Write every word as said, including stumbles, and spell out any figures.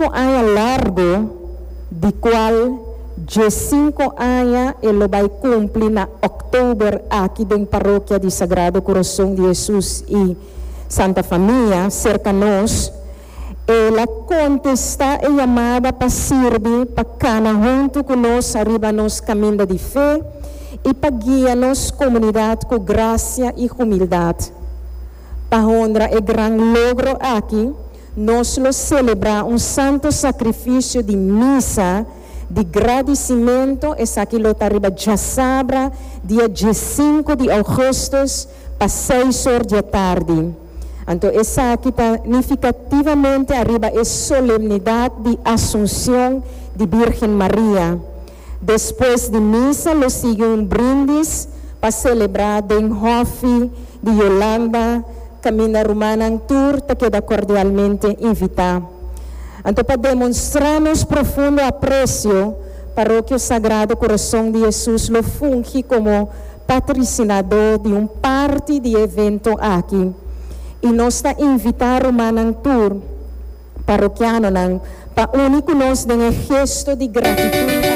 Aña largo, di cual diescinco aña e lo bay cumpli na october aki den Parokia di Sagrado Corazon di Jesus y Santa Famia, cerca nos, el a contesta e yamada pa sirbi, pa cana hunto cu nos ariba nos caminda di fe y pa guia nos comunidad cu gracia y humildad. Pa honra e gran logro aki, nos lo celebra un santo sacrificio di misa di gradicimento. Esaki lo ta riba diasabra, dia diescinco di augustus, pa seis or di atardi. Anto, esaki ta significativamente ariba e solemnidad di Asunción di Virgen Maria. Despues di misa, lo sigui un brindis pa celebra den hofi di Yolanda, caminda rumannan tur ta keda cordialmente invita. Anto, pa demostra nos profundo aprecio, Parokia Sagrado Corazon di Jesus lo fungi como patrocinador di un parti di e evento aki. Y nos ta invita rumannan tur, parokianonan, pa uni cu nos den gesto di gratitud.